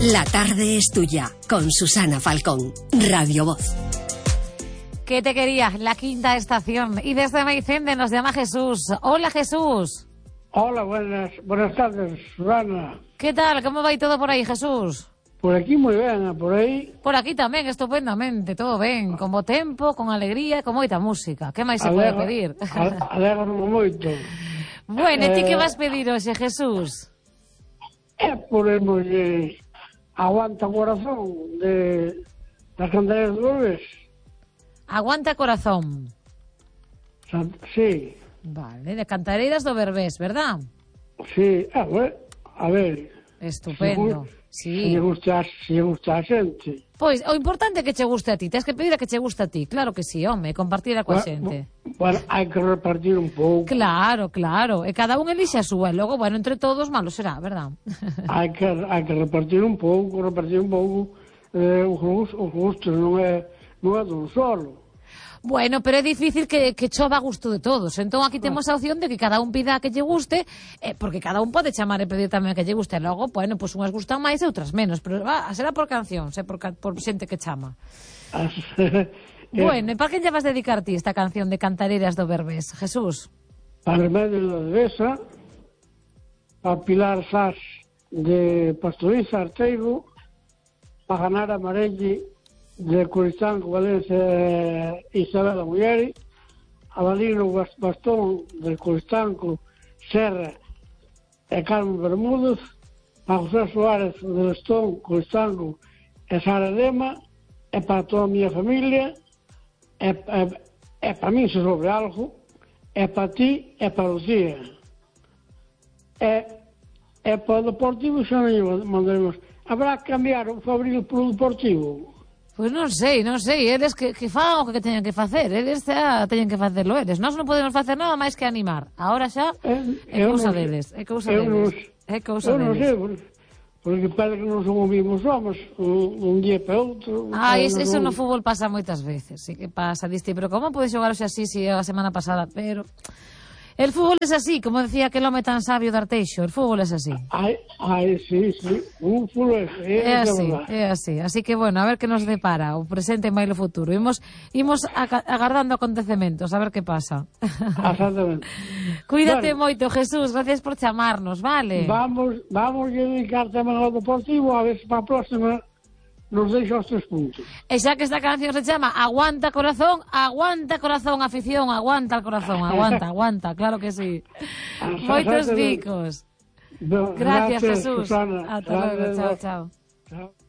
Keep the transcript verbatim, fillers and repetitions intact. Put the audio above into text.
La tarde es tuya, con Susana Falcón, Radio Voz. ¿Qué te quería? La quinta estación. Y desde Meicende nos llama Jesús. Hola, Jesús. Hola, buenas, buenas tardes, Susana. ¿Qué tal? ¿Cómo va y todo por ahí, Jesús? Por aquí muy ben, por aí... Por aquí tamén, estupendamente, todo ben, con bo tempo, con alegría, con moita música. Que máis se pode pedir? Alegro moito. Bueno, e ti eh, que vas pedir hoxe, Jesús? É por de Aguanta Corazón, de das Candelas de Lourdes. Aguanta Corazón. Sí. Vale, de Cantareiras do Berbés, verdad? Sí, a ver, a ver... Estupendo. Se Sí. lle gusta, se lle gusta a xente. Pois, o importante é que che guste a ti. Tens que pedir a que che guste a ti. Claro que sí, home, compartir a coa xente. Bueno, hai que repartir un pouco. Claro, claro. E cada un elixe a súa. E logo, bueno, entre todos, malo será, verdad? Hai que, hai que repartir un pouco, repartir un pouco. Eh, os gustos, os gustos non é, non é dun solo. Bueno, pero é difícil que, que chova a gusto de todos. Entón aquí temos a opción de que cada un pida a que lle guste, eh, porque cada un pode chamar e pedir tamén a que lle guste. E logo, bueno, pois pues unhas gustan máis e outras menos, pero va, será por canción, se por, por xente que chama. Bueno, e para quen lle vas dedicar ti esta canción de Cantareiras do Berbés, Jesús? Para Remedio da Devesa, para Pilar Sás de Pastoriza Arteigo, para Ganar Amarelli de Coristanco, Valencia e Isabel da Muller, a Valino Bastón de Coristanco, Serra e Carmen Bermúdez, a José Suárez de Lestón, Coristanco e Sara Lema, e para toda a miña familia, e, e, e para mí se sobre algo, e para ti e para Lucía. E, e para o Deportivo xa non mandaremos. Habrá que cambiar o Fabril polo Deportivo? Pois non sei, non sei, eles que, que fan o que teñen que facer, eles xa teñen que facerlo eles. Nós non podemos facer nada máis que animar. Agora xa é cousa deles, é cousa deles. É cousa deles. Eu non sei, porque parece que non son os mismos homens, un, un día para outro. Ah, es, eso no fútbol pasa moitas veces, sí que pasa, diste, pero como podes xogar hoxe así si a semana pasada, pero... El fútbol es así, como decía aquel home tan sabio de Arteixo, el fútbol es así. Ai, ai, sí, sí, un fútbol é, é así, é así. Así que, bueno, a ver que nos depara o presente e máis o futuro. Imos, imos agardando acontecementos, a ver que pasa. Exactamente. Cuídate bueno, moito, Jesús, gracias por chamarnos, vale? Vamos, vamos a dedicar tamén ao Deportivo, a ver se para a próxima nos deixa os tres puntos. E xa que esta canción se chama Aguanta Corazón, aguanta corazón, afición, aguanta el corazón, aguanta, aguanta, claro que sí. Moitos bicos. Gracias, Gracias, Jesús. Susana. Hasta luego, chao, chao. Chao.